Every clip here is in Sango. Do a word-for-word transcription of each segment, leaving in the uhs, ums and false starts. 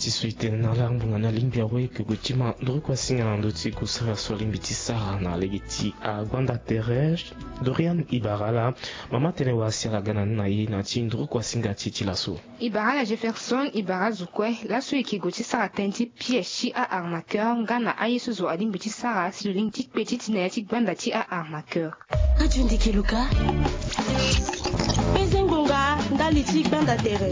Ti so e tene na ala ngbonga ni alingbi awe eke gue ti ma nduru kuasinga na ndö ti kusara so alingbi ti sara na lege ti agbanda tere. Dorian e bara ala mama tene wara si ala ga na ni na ye na ti nduru kuasinga ti e ti laso. E bara ala Jefferson, e bara azo kue laso e yeke gue ti sara tënë ti piège ti a-arnaqueur nga na aye so zo alingbi ti sara si lo lingbi ti kpe ti ti na ya ti gbanda ti a-arnaqueur. Radio Ndeke Luka. Peze ngbonga ndali ti gbanda tere.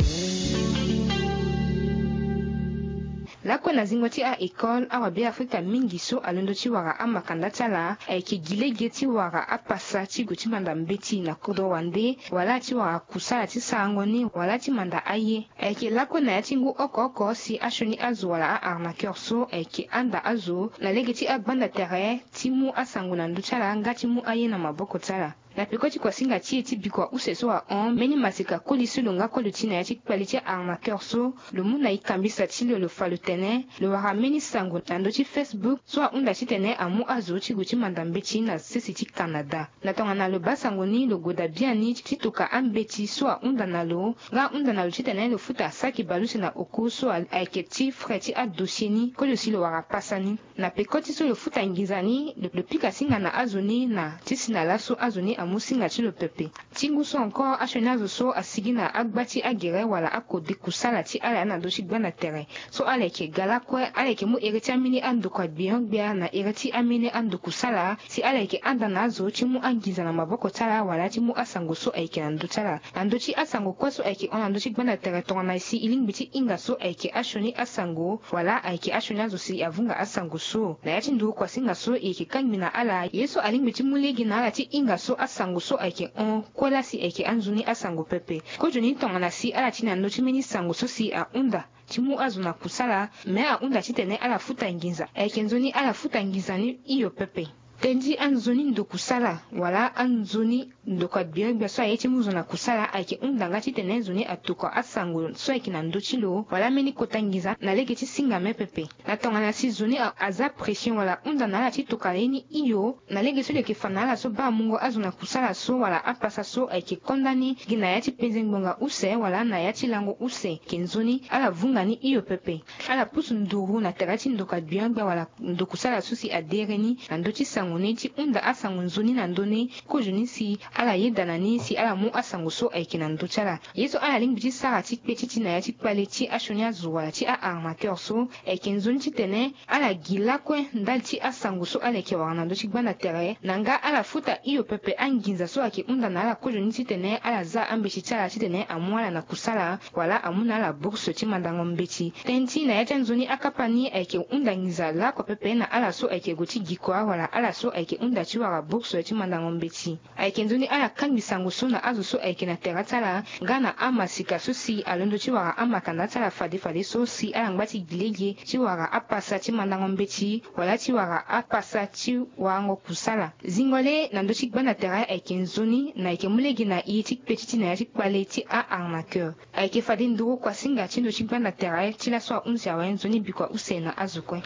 Lakue na zingo ti a-école, awa Beafrika mingi so alondo ti wara amakanda ti ala ayeke gi lege ti wara apasa ti gue ti manda mbeti na kodro wande, wala ti wara kusala ti sarango ni, wala ti manda aye. Ayeke lakue na ya ti ngu oko oko si asioni azo wala a-arnaqueur so ayeke handa azo na lege ti agbanda tere ti mu asango na ndö ti ala nga ti mu aye na maboko ti ala. Na peko ti kuasinga ti e ti bikua use so ahon, mbeni maseka koli so lo nga kue lo ti na ya ti kpale ti a-arnaqueur so, lo mu na e kambisa ti lo, lo fa lo tene lo wara mbeni sango na ndö ti Facebook so ahunda titene amu azo ti gue ti manda mbeti na sese ti Canada. Na tongana lo baa sango ni, lo goda biani ti toka ambeti so ahunda na lo nga ahunda na lo titene lo futa saki baleuse na oko so a- ayeke ti frais ti adossier ni, kozo si lo wara pasa ni. Na peko ti so lo futa nginza ni, lo, lo pika singa na azo ni na ti si na laso azo ni amu singa ti lo pepe. Ti ngu so encore, asioni azo so asigi na agba ti agere wala akode kusala ti ala na ndö ti gbanda tere so ala yeke ga lakue, ala yeke mu ere ti ambeni andokua gbenyo-gbia na ere ti ambeni andokusala si ala yeke handa na azo ti mu anginza na maboko ti ala wala ti mu asango so ayeke na ndö ti ala. Na ndö ti asango kue so ayeke hon na ndö ti gbanda tere, tongana si e lingbi ti hinga so ayeke asioni asango wala ayeke asioni azo si avunga asango so, na ya ti nduru kuasinga so e yeke kangbi na ala ye so alingbi ti mu lege na ala ti hinga so asango so ayeke hon kue laa si ayeke anzoni asango pepe. Kozoni tongana si ala ti na ndö ti mbeni sango so si ahunda ti mu azo na kusala, me ahunda titene ala futa nginza, ayeke nzoni ala futa nginza ni hio pepe. Tënë ti anzoni ndokusala wala anzoni ndokua gbenyo-gbia so aye ti mu zo na kusala ayeke hunda nga titene zo ni atokua asango so ayeke na ndö ti lo wala mbeni kota nginza na lege ti singa me pepe. Na tongana si zo ni a- aza pression wala ahunda na ala ti tokua ye ni hio, na lege so lo yeke fa na ala so baa mungo azo na kusala so wala apasa so ayeke konda ni gi na ya ti penze ngbonga use wala na ya ti lango use, ayeke nzoni ala vunga ni hio pepe. Ala pusu nduru na tere ti ndokua gbenyo-gbia wala ndokusala so si adere ni na ndö ti sango ni ti hunda asango nzoni na ndö ni, kozoni si ala yeda na ni si ala mu asango so ayeke na ndö ti ala. Ye so ala lingbi ti sara ti kpe ti ti na ya ti kpale ti asioni azo wala ti a-arnaqueur so, ayeke nzoni titene ala gi lakue ndali ti asango so ala yeke wara na ndö ti gbanda tere, na nga ala futa hio pepe anginza so ayeke hunda na ala kozoni titene ala za ambeti ti ala titene amu ala na kusala wala amu na ala bourse ti mandango mbeti. Tënë ti na ya ti anzoni akapa ni ayeke hunda nginza lakue pepe na ala so ayeke gue ti gi kua wala ala so ayeke hunda ti wara bourse ti mandango mbeti. Ayeke nzoni ala kangbi sango so na azo so ayeke na tere ti ala nga na amasika so si alondo ti wara amakanda ti ala fade fade so si ala ngba ti gi lege ti wara apasa ti mandango mbeti wala ti wara apasa ti warango kusala. Zingo le na ndö ti gbanda tere ayeke nzoni na ayeke mu lege na e ti kpe ti ti na ya ti kpale ti a-arnaqueur. Ayeke fade nduru kuasinga ti ndö ti gbanda tere ti laso ahunzi awe. Nzoni bikua use na azo kue.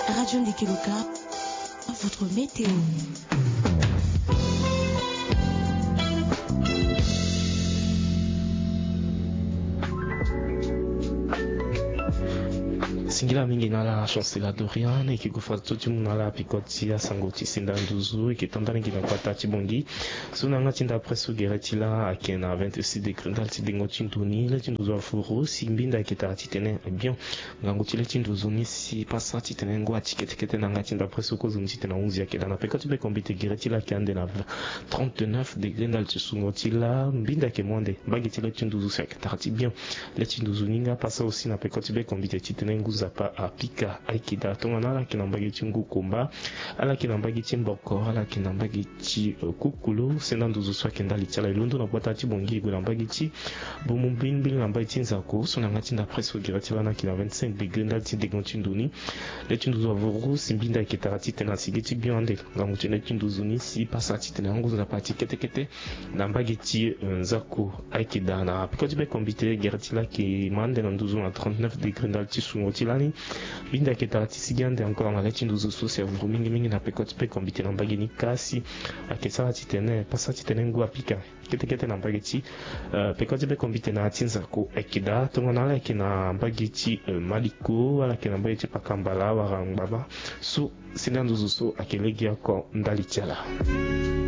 Radio Ndeke Luka, votre météo. Singila mingi na ala Chancela Dorian, e yeke gue fadeso ti mu na ala peko ti asango ti senda nduzu. E yeke tonda ni gi na gbata ti Bangui. So na yanga ti nda après so gere ti lâ ayeke na vingt-six degré ndali ti dengo ti ndo ni. Le ti nduzu avuru si mbinda ayeke tara titene abion. Ngangu ti le ti nduzu ni si pasa titene ngu ati kete kete na yanga ti nda après so kozoni titene ahunzi ayeke daa. Na peko ti bekombite gere ti lâ ayeke ande na trente-neuf degré ndali ti sungo ti lâ. Mbinda ayeke mu ande. Mbage ti le ti nduzu si ayeke tara ti bion. Le ti nduzu ni nga pasa aussi na peko ti bekombite titene ngu nzapa apika ayeke daa. Tongana ala yeke na mbage ti ngu komba, ala yeke na mbage ti mboko, ala yeke na mbage ti, eh, kukulu, senda nduzu so ayeke ndali ti ala. E londo na gbata ti Bangui e gue na mbage ti Boumou Mbimbili na mbage ti Nzako. So na yanga ti nda après so gere ti lâ ni ayeke na vingt-cinq degré ndali ti dengo ti ndo ni. Le ti nduzu avuru si mbinda ayeke tara titene asi gi ti bion ande. Ngangu ti le ti nduzu ni si pasa titene angu nzapa ati kete kete na mbage ti, eh, Nzako ayeke daa. Na peko ti bekombite gere ti lâ ayeke ma ande na nduzu na trente-neuf degré ndali ti sungo ti lâ. Ni binde ayeke tara ti sigi ande encore na le ti nduzu so si avuru mingi mingi na peko ti peko mbite na mbage ni kasi ayeke sara titene pasa titene ngu apika kete kete na mbage ti peko ti peko mbite na ya ti nzako ayeke daa tongana ala yeke na mbage ti maliko ala yeke na mbage ti pakambala wala ngbaba so sende anduzu so ayeke lege oko ndali ti ala.